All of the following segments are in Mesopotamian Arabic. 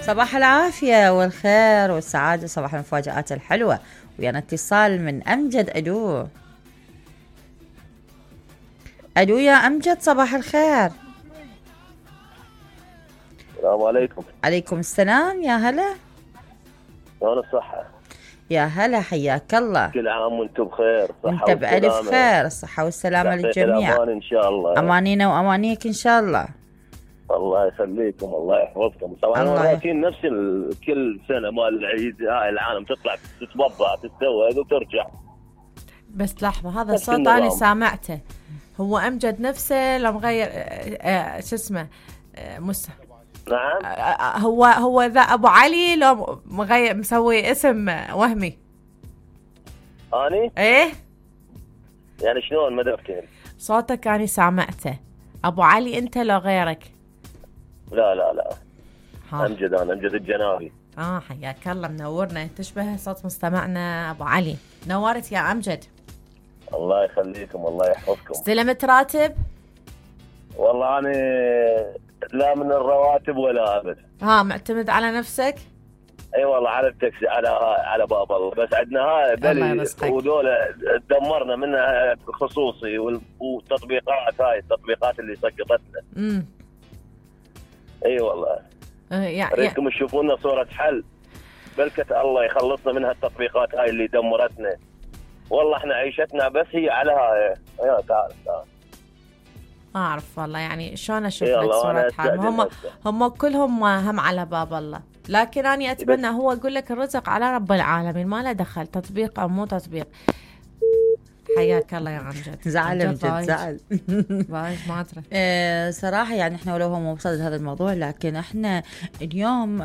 صباح العافية والخير والسعادة، صباح المفاجآت الحلوة. ويانا اتصال من أمجد. ألو يا أمجد، صباح الخير. السلام عليكم. عليكم السلام، يا هلا. شلون الصحة؟ يا هلا، حياك الله. كل عام وانتم بخير. وانت بألف خير، الصحة والسلامة للجميع. الأمان إن شاء الله. أمانينا وأمانيك إن شاء الله. الله يخليكم، الله يحفظكم. طبعا الروتين نفس كل سنة مال العيد، هاي العالم تطلع تتوضع تتزوج وترجع. بس لحظة، هذا الصوت أنا سامعته. هو أمجد نفسه لو مغير شو اسمه نعم. هو ذا أبو علي لو مغير مسوي اسم وهمي. أني؟ إيه يعني شلون ما دفتين؟ صوتك أنا سامعته. أبو علي أنت لو غيرك؟ لا أمجد، أنا أمجد الجنابي. حياك الله، منورنا، تشبه صوت مستمعنا أبو علي. نورت يا أمجد. الله يخليكم، الله يحفظكم. استلمت راتب؟ والله أنا لا من الرواتب ولا أبد. معتمد على نفسك؟ اي والله على التاكسي، على باب الله. بس عندنا هاي بلي ودولة دمرنا منها خصوصي، والتطبيقات هاي التطبيقات اللي سقطتنا. اي والله. اريدكم تشوفون لنا صورة حل، بلكة الله يخلصنا من هالتطبيقات هاي اللي دمرتنا. والله احنا عيشتنا بس هي على هاي. يا تعال اعرف والله، يعني شلون اشوف لك صورة حال. هم كلهم هم على باب الله، لكن أنا أتمنى هو يقول لك الرزق على رب العالمين، ما له دخل تطبيق أو مو تطبيق. حياك الله يا أمجد. زعل أمجد، زعل. ما أدري. صراحة يعني إحنا ولو هو مو بصدد هذا الموضوع، لكن إحنا اليوم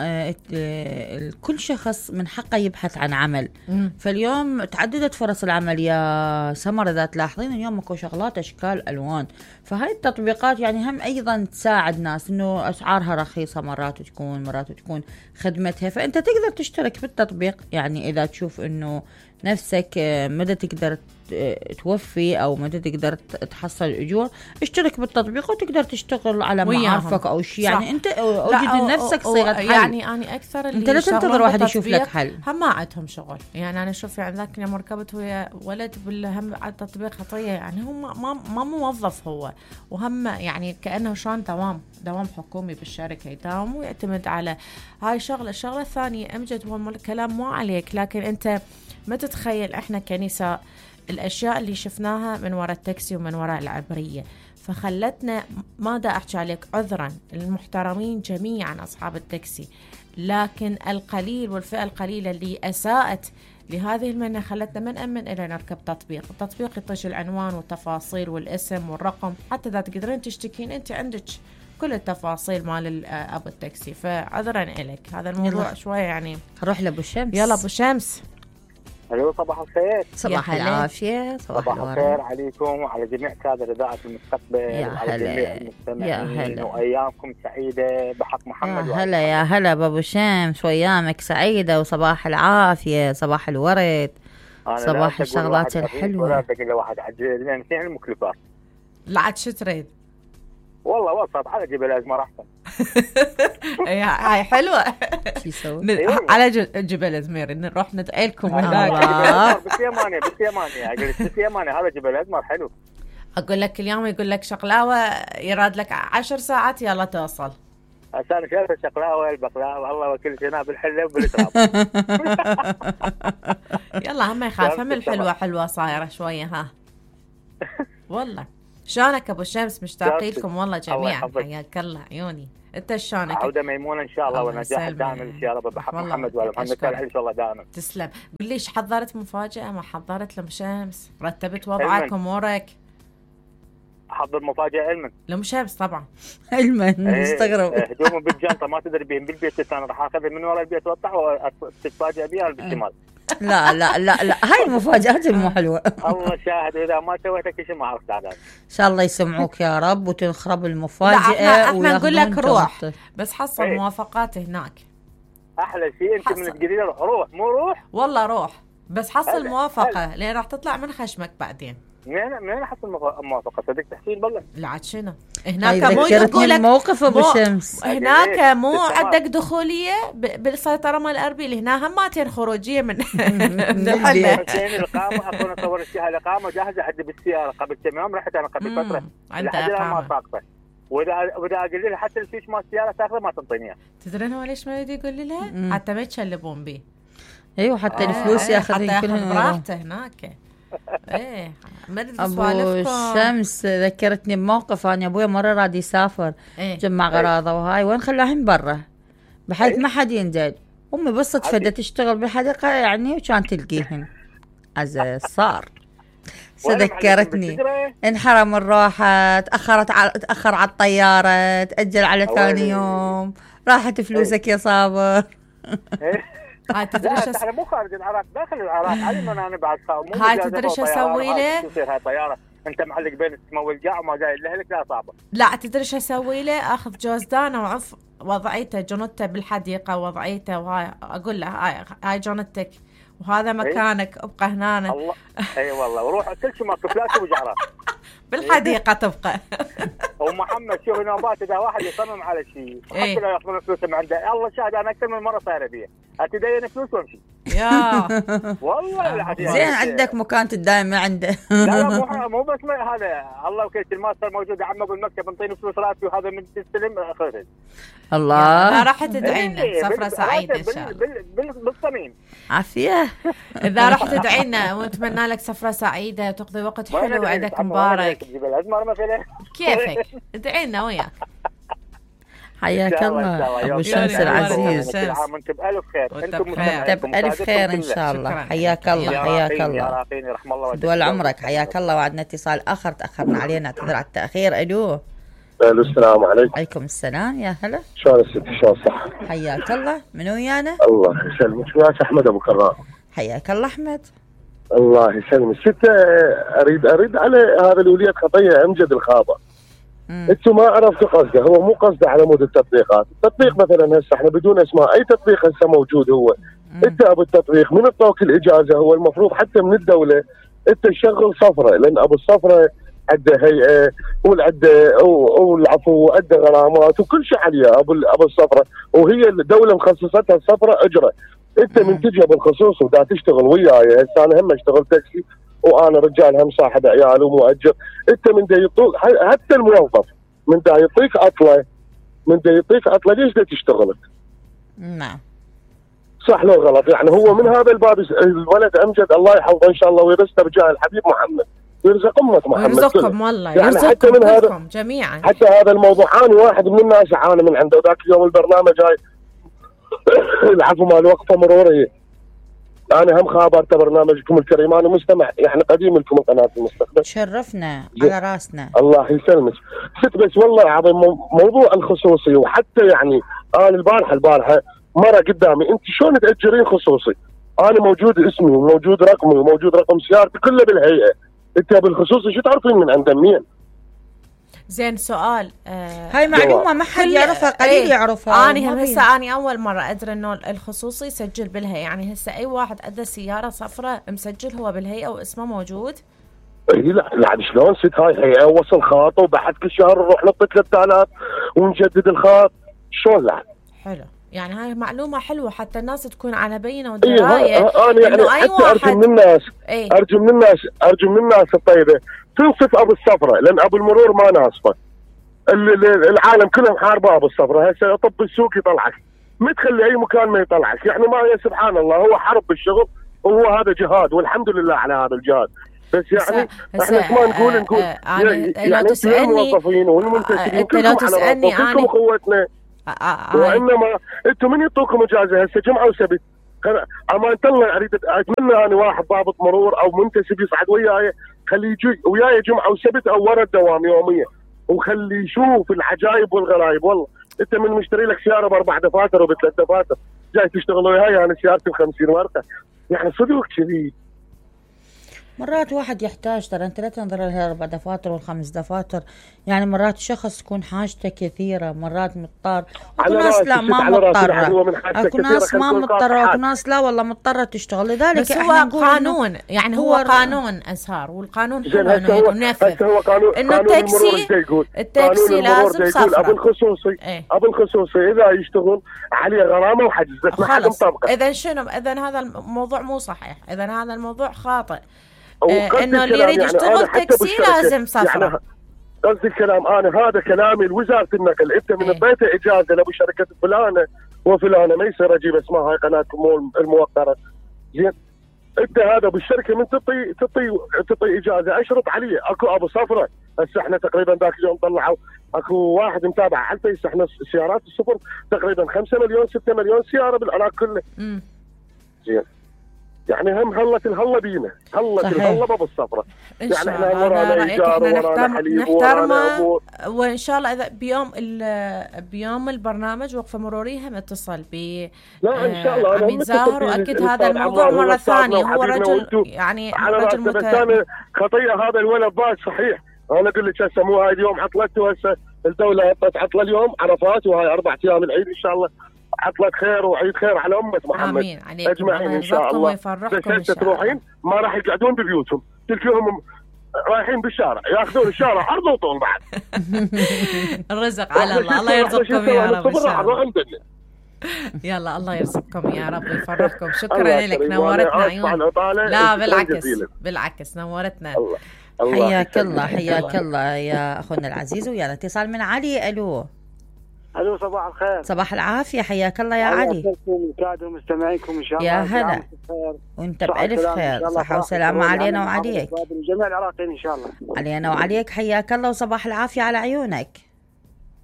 كل شخص من حقه يبحث عن عمل. فاليوم تعددت فرص العمل يا سمر، إذا تلاحظين اليوم ماكو شغلات أشكال ألوان. فهاي التطبيقات يعني هم أيضا تساعد ناس إنه أسعارها رخيصة، مرات تكون خدمتها. فأنت تقدر تشترك بالتطبيق، يعني إذا تشوف إنه نفسك مدى تقدر توفي أو مدى تقدر تحصل الأجور، اشترك بالتطبيق وتقدر تشتغل على معارفك أو شيء. يعني أنت أوجد لنفسك صيغة حل. يعني أنا أكثر اللي أنت لا تنتظر واحد يشوف لك حل. هم ما عندهم شغل. يعني أنا شوف يعني ذاك يوم ركبت ويا ولد بالهم على التطبيق خطية، يعني هم ما موظف هو، وهم يعني كأنه شلون دوام حكومي بالشركة، يداوم ويعتمد على هاي الشغلة الثانية. أمجد هو الكلام مو عليك، لكن أنت ما تتخيل احنا كنساء الاشياء اللي شفناها من وراء التاكسي ومن وراء العبرية، فخلتنا ما دا احكي عليك عذرا المحترمين جميعا اصحاب التاكسي، لكن القليل والفئة القليلة اللي اساءت لهذه المهنة خلتنا ما نأمن إلا نركب تطبيق. التطبيق يطش العنوان والتفاصيل والاسم والرقم، حتى إذا تقدرين تشتكين أنت عندك كل التفاصيل مال أبو التاكسي. فعذرا إليك، هذا الموضوع شوية يعني. نروح لأبو شمس. يلا أبو شمس. الو، صباح الخير. صباح العافية. صباح الخير عليكم وعلى جميع كادر إذاعة المستقبل، وعلى جميع المستمعين، وأيامكم سعيدة بحق محمد. يا هلا بابو شمس، وأيامك سعيدة وصباح العافية، صباح الورد، صباح الشغلات الحلوة. ولا تقول واحد عجل لأن فيها المكلفات. لا عاد شو تريد؟ والله وسط على جبل أزمر أحسن. هاي حلوة. على جبل أزمير نروح ندعي لكم هناك. باليمانية هذا جبل أزمر حلو. أقول لك اليوم يقول لك شقلاوة يراد لك 10 ساعات يلا توصل. أنا شايف الشقلاوة البقلاوة الله وكل شيء بالحلة وبالتراب. يلا هم يخاف، هم الحلوة حلوة صايرة شوية ها. والله شلونك ابو شمس؟ مشتاقين لكم والله جميعا. حياك الله عيوني. انت شلونك؟ عودة ميمونة ان شاء الله ونجاح دائما ان شاء الله بحق محمد وعلى محمد ان شاء الله دائما. تسلم. قل لي حضرت مفاجأة ما حضرت لأم شمس؟ رتبت وضعك امورك؟ احضر مفاجأة علما لأم شمس طبعا. علما مستغرب. هدومه بالجنطة ما تدري بين بالبيت، انا راح اخذها من ورا البيت واطلع وتتفاجئ بيها بالشمال. لا هاي المفاجآت مو حلوة. الله شاهد، إذا ما سويتك شيء ما عرفت عذاب. إن شاء الله يسمعوك يا رب وتنخرب المفاجأة. احنا نقول لك روح بس حصل موافقات هناك. أحلى شيء أنت من تقولي روح مو روح. والله روح بس حصل موافقة لأن راح تطلع من خشمك بعدين. منين احط الموافقه؟ صدق تحصيل بالله. لا عاد شنو هناك مو يقول لك موقف ابو شمس هناك مو عندك دخوليه بالسيطره مال اربيل، هنا هماتين خروجيه من الحلة. الاقامه اكون اصور فيها الاقامه جاهزه عندي بالسياره قبل كم يوم، رحت انا قبل فتره عندها اقامه ما ساقطه، واذا اقول لها حتى الفيش مال السياره تاخذه ما تنطيني اياه. تدرين هو ليش ما يريد يقول لها؟ حتى ما يتشلبون به. ايوه حتى الفلوس ياخذين كلهم براحته هناك. ايه ابو الشمس ذكرتني بموقف. انا ابوي مره راد يسافر جمع غراضه وهاي وين خلاهن برا بحيث ما حد ينزل. امي بالصدفه بدها تشتغل بالحديقه يعني وكان تلقيهن عزة صار. ذكرتني انحرم الروحه، تاخر على الطياره، تاجل على ثاني يوم، راحت فلوسك يا صابر. هاي تدري احنا مو خارج العراق، داخل العراق. علم انا بعد هاي تدري شو اسوي له؟ تصير هاي طياره انت معلق بين السماء والقاع وما جاي لك لا صعبه. لا تدري شو اسوي له؟ اخذ جوزدانه وعف وضعيته جنته بالحديقه وضعيته، وهاي اقول له هاي جنتك وهذا مكانك ابقى هنا. الله اي والله وروح كل شيء ماكو فلاش وجعرات بالحديقه تبقى. ومحمد شوف نوبات اذا واحد يصمم على شيء حتى لو ياخذون فلوسه من عنده، الله شاهد انا اكثر من مره صايره بيه اتدين فلوس وامشي. يا والله زين عندك مكان تدايم عنده. لا مو بس هذا الله وكيل الماستر موجود عمه بالمكتب انطيني فلوس راتبي وهذا من تستلم اخذها. الله لا راح تدعي لنا سفره سعيده ان شاء الله بالصميم عافيه. اذا راح تدعي لنا ونتمنى لك سفره سعيده تقضي وقت حلو وعيدك مبارك. كيفك ادعي لنا وياك. حياك الله ابو شمس العزيز. وانت بالف خير. انت بالف خير ان شاء الله. حياك الله حياك الله دول عمرك. حياك الله. وعدنا اتصال اخر تاخرنا عليه، نعتذر على التاخير. الو السلام عليكم. عليكم السلام يا هلا. شلون الست شلون صح؟ حياك الله. منو ويانا؟ الله يسلمك. وياك احمد ابو كرام. حياك الله احمد. الله يسلمك. ست اريد على هذا الولية خطيه امجد الخابر. انتم ما عرفتوا قصده، هو مو قصده على مود التطبيقات. التطبيق مثلا هسه احنا بدون اسماء اي تطبيق هسه موجود هو انت ابو التطبيق من اعطوك الاجازه هو المفروض حتى من الدوله انت تشغل صفره، لان ابو الصفره عنده هيئه والعفو وعنده غرامات وكل شيء عليها ابو الصفره، وهي الدوله مخصصتها الصفره اجره. انت من تجي بالخصوص ودا تشتغل وياي هسه انا هم اشتغل تاكسي وانا رجال هم صاحب عيال ومؤجر. انت من دا يعطوك حتى الموظف من دا يعطيك عطله ليش دا تشتغلك؟ نعم صح لو غلط يعني. هو من هذا الباب الولد امجد الله يحفظه ان شاء الله ويرزقه بجاه الحبيب محمد ويرزق امك محمد ويرزقكم والله يعني يرزقكم كلكم جميعا. حتى هذا الموضوع انا واحد من الناس اعاني من عنده ذاك اليوم البرنامج هاي العفو مال وقفه مروريه. أنا هم خابرت برنامجكم الكريم، أنا مستمع يعني قديم لكم قناة المستقبل. شرفنا على راسنا. الله يسلمك. ست بس والله العظيم موضوع الخصوصي وحتى يعني أنا البارحة مرة قدامي أنت شلون تأجرين خصوصي؟ أنا موجود اسمي وموجود رقمي وموجود رقم سيارتي كله بالهيئة. أنت بالخصوصي شو تعرفين من عند مين؟ زين سؤال هاي معلومة ما حد يعرفها قليل يعرفها. أنا هسه أنا أول مرة أدري إنه الخصوصي يسجل بالهيئة، يعني هسه أي واحد عنده سيارة صفراء مسجل هو بالهيئة واسمه موجود. لا شلون ست هاي هيئة وصل خاط وبعد كل شهر نروح نطي 3000 ونجدد الخاط شلون لا. حلو يعني هاي معلومة حلوة حتى الناس تكون على بينة ودراية. أنا يعني حتى أرجو من الناس أرجو من الناس الطيبة تنصف ابو الصفره، لان ابو المرور ما ناصفه. العالم كلهم حاربه ابو الصفره، هسه طب السوق يطلعك، ما تخلي اي مكان ما يطلعك، يعني ما هي سبحان الله هو حرب بالشغل وهو هذا جهاد والحمد لله على هذا الجهاد. بس يعني احنا ما نقول يعني لو تسالني الموظفين والمنتجين لو تسالني انا اخوتنا وانما انتم من يعطوكم اجازه هسه جمعه وسبت؟ امان الله اريد اتمنى انا واحد ضابط مرور او منتسب يصعد وياي خليه يجي وياي جمعه وسبت او ورا الدوام يوميا وخليه يشوف العجائب والغرايب. والله انت من مشتري لك سياره ب4 دفاتر وب3 دفاتر جاي تشتغل وياي انا سيارتي ب50 ورقه، يعني صدق كذي. مرات واحد يحتاج ترى، انت لا تنظر لها 4 دفاتر وال5 دفاتر، يعني مرات شخص تكون حاجته كثيره، مرات مضطر، اكو ناس لا ما مضطره، اكو ناس ما مضطره، اكو ناس لا والله مضطره تشتغل. لذلك بس هو قانون، يعني هو قانون اسهار، والقانون حلو انه ينفذ. هو قانون انه التاكسي لازم صفرة. ابو الخصوصي اذا يشتغل عليه غرامه وحجز، بس ما حد مطبقه. اذا شنو؟ اذا هذا الموضوع مو صحيح، اذا هذا الموضوع خاطئ. انه اللي يريد يشتغل تاكسي لازم صفرة. يعني قصدي الكلام، انا هذا كلامي لوزاره النقل. انت من بيت اجازه لابو شركه فلانه وفلانه، ما يصير اجيب اسمها هاي قناتكم الموقره. زين، انت هذا بالشركه من تعطي اجازه اشرط عليه. اكو ابو صفره، هسه احنا تقريبا ذاك اليوم طلعوا اكو واحد متابع على الفيس، احنا سيارات السفر تقريبا 5 مليون 6 مليون سياره بالعراق كله. زين، يعني هم هلت الهله بينا، هلت الهله بابو الصفره. يعني احنا ورانا ايجار ورانا حليب ورانا امور، وان شاء الله اذا بيوم البرنامج وقفه مروريه هم اتصل ب لا ان شاء الله امين زاهر، واكيد هذا الموضوع مره ثانيه. هو رجل يعني رجل بس انا خطيه هذا الولد ضاج صحيح. انا اقول لك هسه مو هاي اليوم عطلته، هسه الدوله عطت عطله اليوم عرفات، وهاي 4 ايام العيد ان شاء الله عطلة خير وعيد خير على أمة محمد. آمين عليكم، أجمعين إن شاء الله. بس تروحين ما راح يقعدون ببيوتهم، تلقيهم رايحين بالشارع ياخذون الشارع عرض وطول بعد. الرزق على الله، الله يرزقكم يا رب. يلا الله يرزقكم يا رب ويفرحكم. شكرا لك، نورتنا عيون. لا بالعكس نورتنا. حياك الله حياك الله يا أخونا العزيز. ويانا اتصال من علي. ألو صباح الخير. صباح العافية، حياك الله يا علي. كادر مستمعينكم ان شاء الله. يا هلا وانت بألف خير، صحة وسلامة علينا وعليك، جميع العراقيين ان شاء الله. علينا وعليك، حياك الله وصباح العافية على عيونك.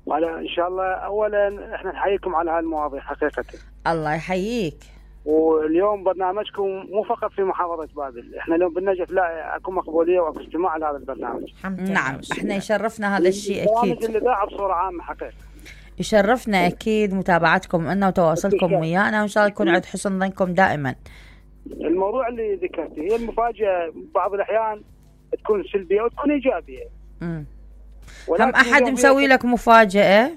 ان شاء الله. اولا احنا نحييكم على هالمواضيع حقيقة. الله يحييك. واليوم برنامجكم مو فقط في محافظة بابل، احنا اليوم بالنجف لا اكو مقبولية واكو استماع لهذا البرنامج. نعم، احنا يشرفنا هذا الشيء اكيد. برنامج الاذاعة بصورة عامة حقيقة يشرفنا أكيد متابعتكم لنا وتواصلكم ويانا، وإن شاء الله يكون عند حسن ظنكم دائما. الموضوع اللي ذكرته هي المفاجأة بعض الأحيان تكون سلبية وتكون إيجابية. هم أحد مسوي لك مفاجأة؟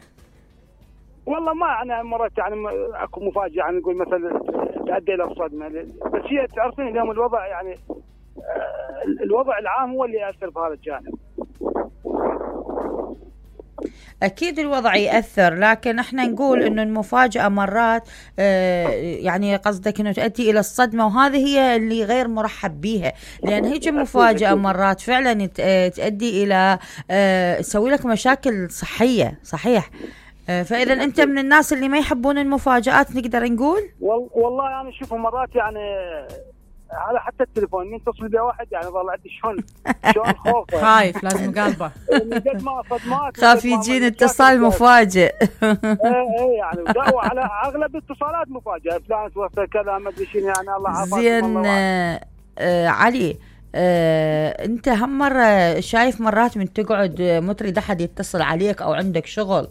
والله ما أنا مرات يعني أكو مفاجأة، يعني نقول مثلا تؤدي إلى الصدمة، بس هي تعرفين اليوم الوضع يعني الوضع العام هو اللي يأثر بهذا الجانب. أكيد الوضع يأثر، لكن احنا نقول إنه المفاجأة مرات يعني قصدك إنه تؤدي إلى الصدمة، وهذه هي اللي غير مرحب بيها، لأن هيك مفاجأة مرات فعلا تؤدي إلى تسوي لك مشاكل صحية. صحيح. فإذا أنت من الناس اللي ما يحبون المفاجآت نقدر نقول؟ والله يعني شوفوا مرات يعني على حتى التليفون يتصل بي واحد يعني ظل عندي شلون خوف، خايف لازم قلبه قد ما صدمات، خاف يجيني اتصال مفاجئ. ايه يعني على اغلب الاتصالات مفاجئه، فلان توفى كذا ما ادري شنو، يعني الله عافاك. زين علي، انت هم مرة شايف مرات من تقعد ما تريد احد يتصل عليك او عندك شغل،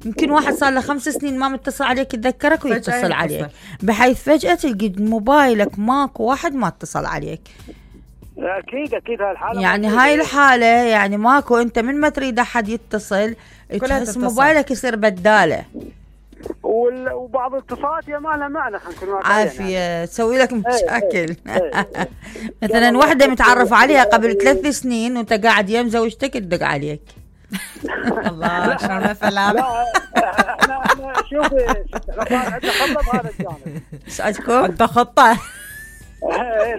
يمكن واحد صار له 5 سنين ما متصل عليك يتذكرك ويتصل عليك، بحيث فجأة تلقى موبايلك ماكو واحد ما اتصل عليك. أكيد هالحالة يعني هاي الحالة يعني ماكو، أنت من ما تريد أحد يتصل تحس موبايلك يصير بدالة، وبعض الاتصالات يا ما لها معنى عافية يعني. تسوي لك مشاكل. مثلا واحدة متعرف عليها قبل 3 سنين وانت قاعد يم زوجتك تدق عليك. الله شلون مثلا. لا احنا شوفي عندنا خطه بهذا الجانب. سألتكم عندنا خطه.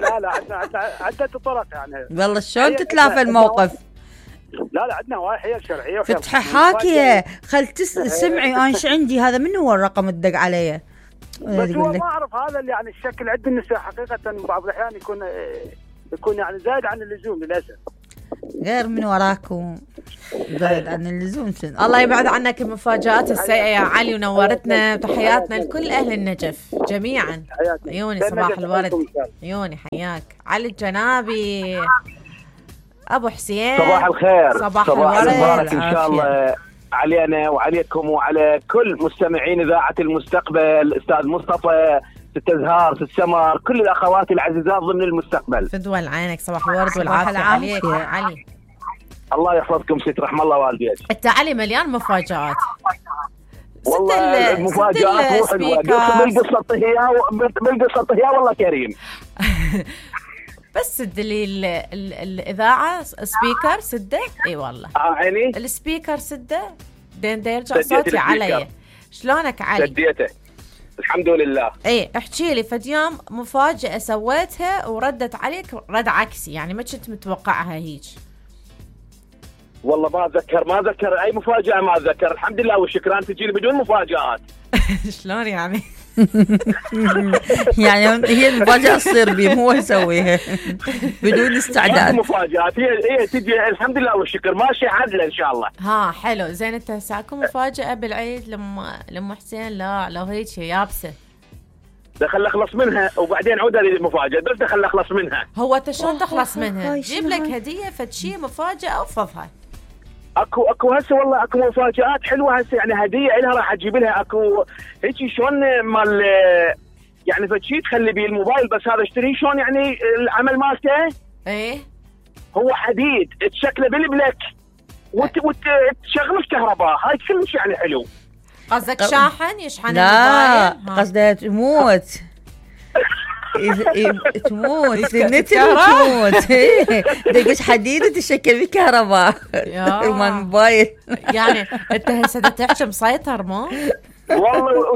لا عندنا عدة طرق يعني. والله شلون تتلافى الموقف؟ لا عندنا واحية شرعية فتحي حاكية خل سمعي انا ايش عندي، هذا من هو الرقم الدق عليه؟ بس هو ما اعرف هذا اللي يعني الشكل عند النساء حقيقة بعض الاحيان يكون يعني زايد عن اللزوم للاسف. غير من وراكم زايد عن اللزوم. الله يبعد عنك المفاجآت السيئة يا علي، ونورتنا وتحياتنا لكل أهل النجف جميعا. عيوني صباح الورد، عيوني حياك. علي الجنابي أبو حسين صباح الخير، صباح الورد إن شاء الله علينا وعليكم وعلى كل مستمعين إذاعة المستقبل. أستاذ مصطفى ست أزهار، ست سمر، كل الأخوات العزيزات ضمن المستقبل. فدوى عينك، صباح الورد والعافية عليك يا علي. الله يحفظكم ست، رحم الله والديك. انت علي مليان مفاجآت. والله المفاجآت مو حلوة، من قصة طهيا والله كريم. بس سد لي الإذاعة سبيكر سده. اي والله عيني السبيكر سده دين يرجع صوتي علي. شلونك علي؟ سديته الحمد لله. ايه احكي لي فد يوم مفاجأة سويتها وردت عليك رد عكسي، يعني ما كنت متوقعها هيك. والله ما اتذكر اي مفاجأة، ما اتذكر. الحمد لله والشكران تجيني بدون مفاجآت. شلون يعني؟ يعني هي المفاجأة تصير بي، مو يسويها بدون استعداد. مفاجآت هي تجي الحمد لله والشكر، ماشي عدله ان شاء الله. ها حلو زين. انت ساكم مفاجأة بالعيد لما حسين؟ لا لو هيك يابسة دخل اخلص منها وبعدين عودها للمفاجأة، بس دخل اخلص منها. هو انت شلون تخلص منها؟ جيب لك هدية فد شيء مفاجأة وفضها. اكو هسه والله اكو مفاجآت حلوه هسه، يعني هديه لها راح اجيب لها. اكو هيك شلون مال يعني فشي تخلي بيه الموبايل، بس هذا اشتريه شلون يعني العمل مالته. ايه هو حديد تشكله بالبلك وتشغله الكهرباء، هاي كلش يعني حلو. قصدك شاحن يشحن لا قصدها تموت. تموت النت تموت. دقش حديد وتشكل بكهرباء مال موبايل. يعني انت هسه تحكي مسيطر مو والله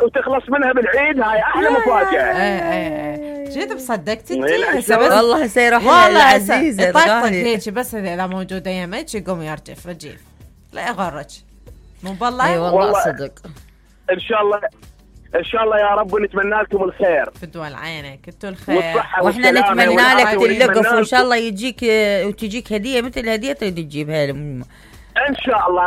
وتخلص منها بالعيد، هاي احلى مفاجأة. ايه جيت بصدقت انت هسه والله هسه يروح العزيزة الغالي هيك، بس اذا موجودة يمك يقوم يرجف رجيف لا يغرج مو بالله. اي والله صدق. ان شاء الله يا رب، ونتمنى لكم الخير. فدوى عينك انتوا الخير، واحنا نتمنى لك تلقف وان شاء الله يجيك وتجيك هديه مثل الهديه اللي تجيبها لهم. ان شاء الله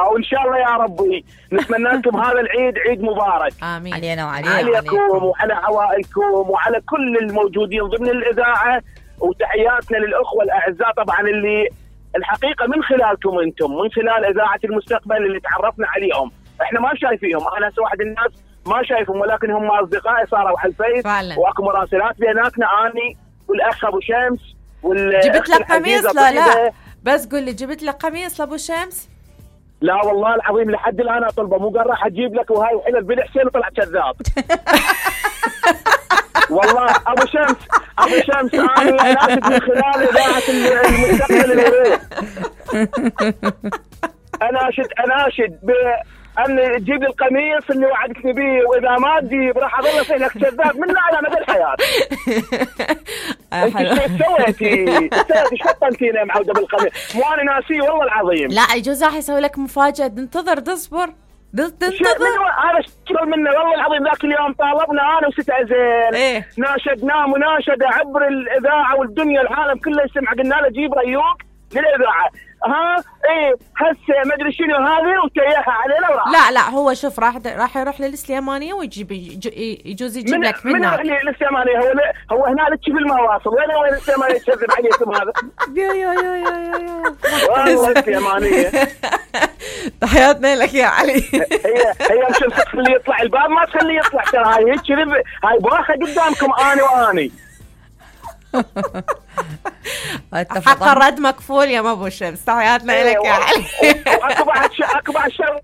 وان شاء الله يا ربي. نتمنى لكم هذا العيد عيد مبارك. امين علينا عليكم وعلى عوائلكم وعلى كل الموجودين ضمن الاذاعه، وتحياتنا للاخوه الاعزاء طبعا اللي الحقيقه من خلالكم انتم، من خلال اذاعه المستقبل اللي تعرفنا عليهم. احنا ما شايفيهم، انا هسه واحد الناس ما شايفهم، ولكن هم اصدقائي صاروا على الفيس، واكو مراسلات بيناتنا اني والاخ ابو شمس جبت لك قميص؟ لا بس قول لي جبت لك قميص لابو شمس؟ لا والله العظيم لحد الان اطلبه، مو قال راح اجيب لك وهاي وحلل بن حسين وطلع كذاب. والله ابو شمس انا ناشد من خلال اذاعه المستقبل الوريد. اناشد ان تجيب لي القميص اللي وعدتني به، واذا ما تجيب راح اظل اسالك كذاب من على مدى الحياه. انت ايش سويتي؟ شطنتينا معوده بالقميص، مو انا ناسي والله العظيم. لا يجوز راح يسوي لك مفاجاه، ننتظر تصبر تنتظر. هذا شكرا منه والله العظيم. ذاك اليوم طالبنا انا وست عزيل، ناشدناه مناشده عبر الاذاعه والدنيا العالم كله يسمع، قلنا له جيب ريوق للاذاعه. هسه ما ادري شنو هذه وتياها علينا وراح. لا هو شوف راح يروح للسليمانيه ويجيب يجوز يجيب لك من للسليمانيه. هو هنالك في المواصل. وين السليمانيه تكذب عليكم هذا؟ يا والله السليمانيه. تحياتنا لك يا علي. هي مش تخليه يطلع الباب، ما تخليه يطلع ترى. هاي هيك هاي باخه قدامكم انا واني. حق الرد مكفول يا ابو شمس. تحياتنا لك يا علي. اكو بعد شر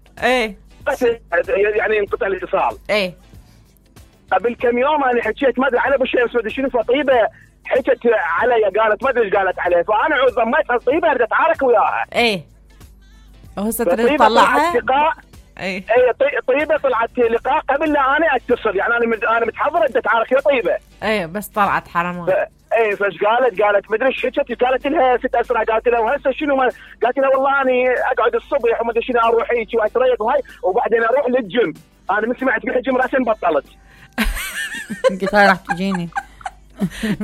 يعني انقطع الاتصال. قبل كم يوم انا حكيت ما ادري على ابو شمس ما ادري شنو، فطيبه حكت علي قالت ما ادري ايش قالت عليه، فانا عود ضميتها الطيبه ردت اتعارك وياها. وهسه تريد تطلعها؟ طيبه طلعت لقاء قبل لا انا اتصل، يعني انا متحضر ادت اتعارك يا طيبه. بس طلعت حرام. فايش قالت ما ادري ايش حكت، قالت لها 6 اسرع، قالت لها وهسه شنو قالت لها والله اني اقعد الصبح وما ادري شنو اروح هيك واتريق وهاي وبعدين اروح للجيم. انا من سمعت بالجيم راسا بطلت. قلت هاي راح تجيني.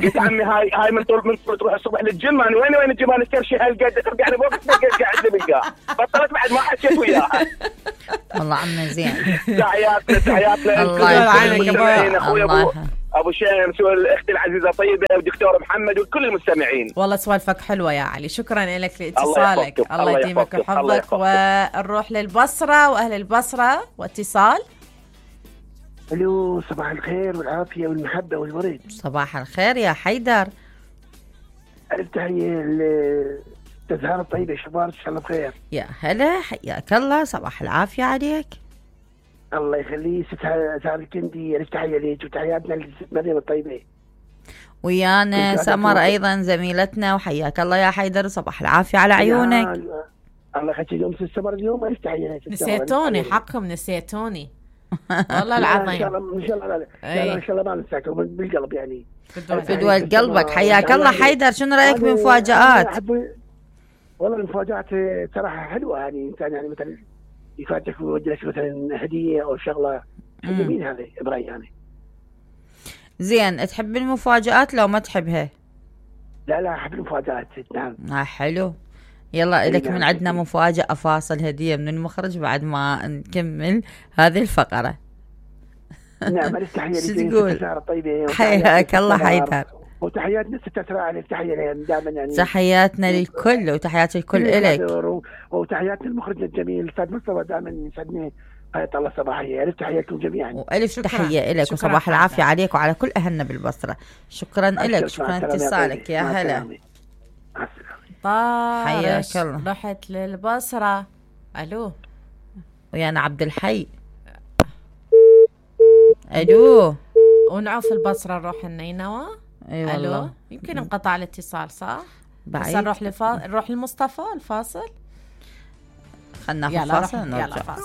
قلت عمي هاي من طول تروح الصبح للجيم، انا وين الجيم؟ انا استرشي هالقد ترجع لي فوق قاعد بالقاع. بطلت بعد ما حكيت وياها. والله عمي زين. تحياتنا الله يعينك اخوي ابو شمس والاخت العزيزه طيبه والدكتور محمد وكل المستمعين. والله سوالفك حلوه يا علي، شكرا لك لاتصالك. الله يديمك ويحفظك. ونروح للبصره واهل البصره واتصال. الو، صباح الخير والعافيه والمحبه والورد. صباح الخير يا حيدر. ألف تحيه للتزهار الطيبه، شباب ان شاء الله بخير. يا هلا، حياك الله، صباح العافيه عليك. الله يخليه ست زهر الكندي، ألف تحيه ليك وتحياتنا لست مريم الطيبه. ويانا سمر ايضا زميلتنا، وحياك الله يا حيدر، صباح العافيه على عيونك. الله يخليك. اليوم السمر اليوم ألف تحيه. نسيتوني حقكم، نسيتوني والله العظيم. ان شاء الله ان شاء الله لا ان شاء الله ما ننساكم بالقلب يعني. فدوى قلبك. حياك الله حيدر. شنو رايك بمفاجآت؟ والله المفاجآت صراحه حلوه يعني. انسان يعني مثلا يفاجئك ويوجه لك مثلا هديه او شغله جميل. هذا برايي يعني. زين، تحب المفاجآت لو ما تحبها؟ لا احب المفاجآت. نعم. حلو. يلا لك من عندنا مفاجأة، فاصل هدية من المخرج بعد ما نكمل هذه الفقرة. نعم. التحية شو تقول؟ طيبة. حياك الله حيدر. وتحياتنا ست أسراء، تحية دائما يعني. تحياتنا للكل وتحيات الكل إلك. وتحياتنا المخرج الجميل الأستاذ مصطفى، دائما يسعدني. حياة الله صباحية. ألف تحية لكم جميعا. وألف تحية إلك وصباح العافية عليك وعلى كل أهلنا بالبصرة. شكرا إلك، شكرا اتصالك. يا هلا. حياك الله. رحت للبصرة. ألو، ويانا عبد الحي. ألو، ونعوف البصرة نروح النينوى. ألو، يمكن انقطع الاتصال صح؟ بعيد. بس نروح لمصطفى الفاصل. خلنا ناخذ فاصل ونرجع.